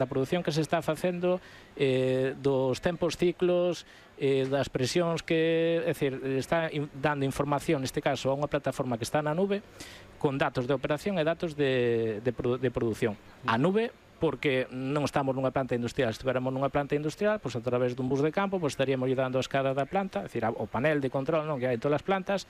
da produción que se está facendo, dos tempos ciclos, das presións que, é dicir, está dando información, neste caso, a unha plataforma que está na nube, con datos de operación e datos de produción. A nube, porque non estamos nunha planta industrial. Se estiveramos nunha planta industrial, pois a través dun bus de campo, pois estaríamos dando a escada da planta, é dicir, o panel de control, non, que hai en todas as plantas,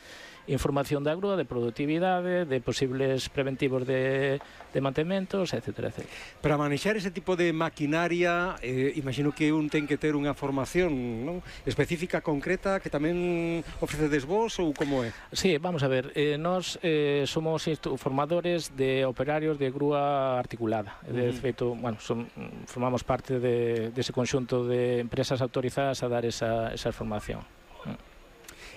información da grúa, de productividade, de posibles preventivos de mantementos, etc. Para manexar ese tipo de maquinaria, imagino que un ten que ter unha formación, non, específica, concreta, que tamén ofrecedes vos, ou como é? Sí, vamos a ver, nós somos formadores de operarios de grúa articulada. De feito, bueno, formamos parte dese conxunto de empresas autorizadas a dar esa formación.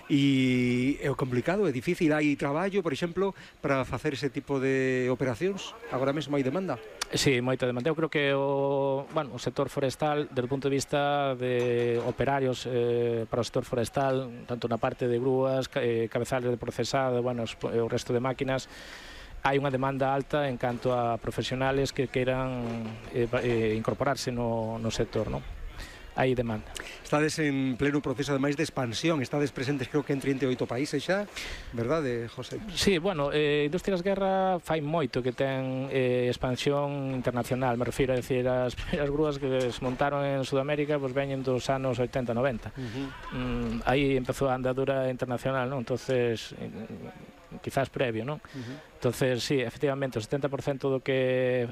E é complicado, é difícil, hai traballo, por exemplo, para facer ese tipo de operacións? Agora mesmo hai demanda? Sí, moita demanda. Eu creo que o sector forestal, desde o punto de vista de operarios para o sector forestal, tanto na parte de grúas, cabezales de procesado, o resto de máquinas, hai unha demanda alta en canto a profesionales que queiran incorporarse no sector, non? Hai demanda. Estades en pleno proceso, ademais, de expansión. Estades presentes, creo que en 38 países xa, verdade, José? Sí, Industrias Guerra fai moito que ten expansión internacional, me refiro a decir, as primeiras grúas que se montaron en Sudamérica pois veñen dos anos 80-90. Aí empezou a andadura internacional, non? Entonces, quizás previo, non? Entonces, sí, efectivamente, o 70% do que...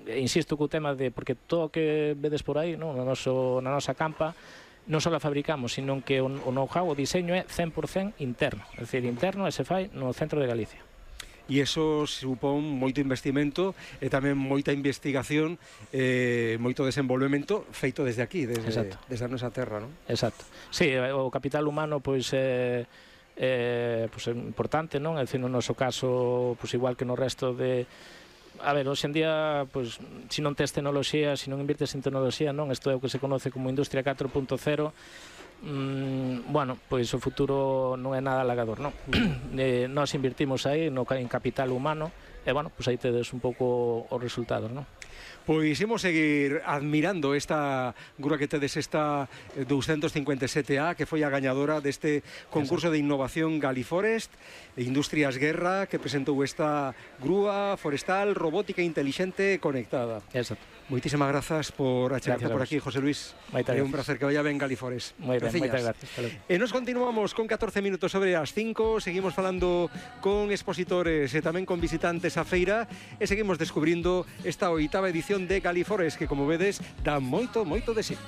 Insisto co tema de... Porque todo o que vedes por aí, non? Na nosa campa, non só a fabricamos, sino que o know-how, o diseño é 100% interno. É dicir, interno e se fai no centro de Galicia. E iso supón moito investimento e tamén moita investigación, moito desenvolvemento feito desde aquí, desde a nosa terra, non? Exacto. Sí, o capital humano, pois... é importante, non? É dicir, no noso caso, igual que no resto de... A ver, hoxe en día, se non tes tecnoloxía, se non invirtes en tecnoloxía, non? Isto é o que se conoce como Industria 4.0, o futuro non é nada halagador, non? Nós invirtimos aí en capital humano e, aí tedes un pouco os resultados, non? Pois imos seguir admirando esta grúa que tedes, esta 257A, que foi a gañadora deste concurso de innovación Galiforest, Industrias Guerra, que presentou esta grúa forestal robótica intelixente conectada. Exacto. Moitísimas grazas por achegarse por aquí, José Luis. É un placer que vaya ben Galiforest. Moi ben, moitas gracias. E nos continuamos con 14 minutos sobre as 5, seguimos falando con expositores e tamén con visitantes á feira e seguimos descubrindo esta 8ª edición de Galiforest, que, como vedes, dá moito de sí.